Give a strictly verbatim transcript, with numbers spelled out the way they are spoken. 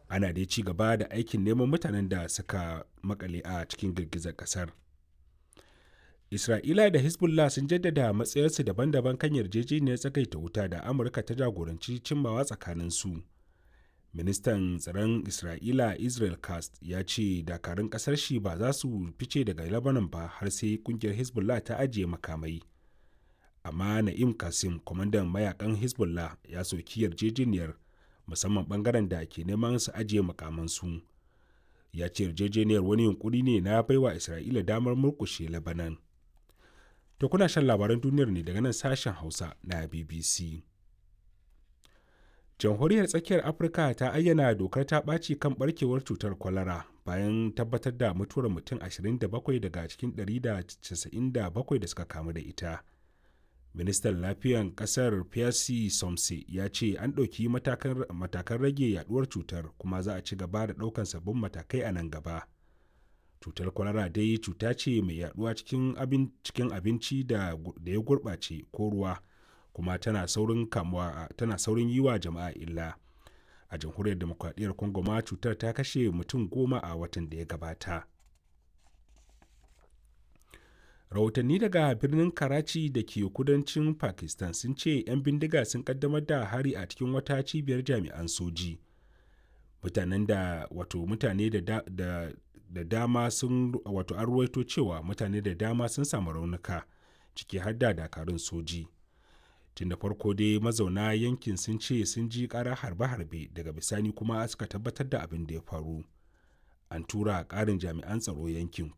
Ana dai ci gaba da aikin neman mutanen da suka makale a cikin girgizar kasar. Isra'ila da Hezbollah sun jaddada matsayarsu daban-daban kan yarjejeniyar tsagaita wuta da Amurka ta jagoranci cimmawa tsakaninsu. Ministan tsaron Isra'ila Israel Katz ya ce dakarun kasar shi ba za su fice daga Lebanon ba har sai kungiyar Hezbollah ta ajiye makamai. Amma Na'im Qassem, kwamandan mayakan Hezbollah, ya soki yarjejeniyar, musamman bangaren da ke neman su ajiye makamansu. Ya ce yarjejeniyar wani yunkuri ne na baiwa Isra'ila damar murkushe Lebanon. To kuna shan labaran duniyar ne daga nan sashen Hausa na B B C. Jamhuriyar Tsakiyar Afirka ta ayyana dokar ta ɓaci kan barkewar cutar kwalara bayan tabbatar da mutuwar mutum ashirin da bakwai daga cikin ɗari da casa'in da bakwai da suka kamu da ita. Ministan Lafiyan ƙasar Pierre Somse ya ce an ɗauki matakan rage yaduwar cutar kuma za a ci gaba da ɗaukan sabbin matakai a nan gaba. Cutar kwalara dai cuta ce mai yaduwa cikin cikin abinci da ya gurɓace ko ruwa, kuma tana saurin kamuwa, tana saurin yi wa jama'a illa. A Jamhuriyar Demokradiyyar Congo ma cutar ta kashe mutum goma a watan da ya gabata. Rahotanni daga birnin Karachi da ke kudancin Pakistan sun ce 'yan bindiga sun kaddamar da hari a cikin wata cibiyar jami'an soji. Mutanen da wato mutane da, da, da dama sun wato an ruwaito cewa mutane da dama sun samu raunuka, ciki har da dakarun soji. Tun da farko dai mazauna yankin sun ce sun ji ƙara harbe-harbe, daga bisani kuma suka tabbatar da abin da ya faru. An tura ƙarin jami'an tsaro yankin.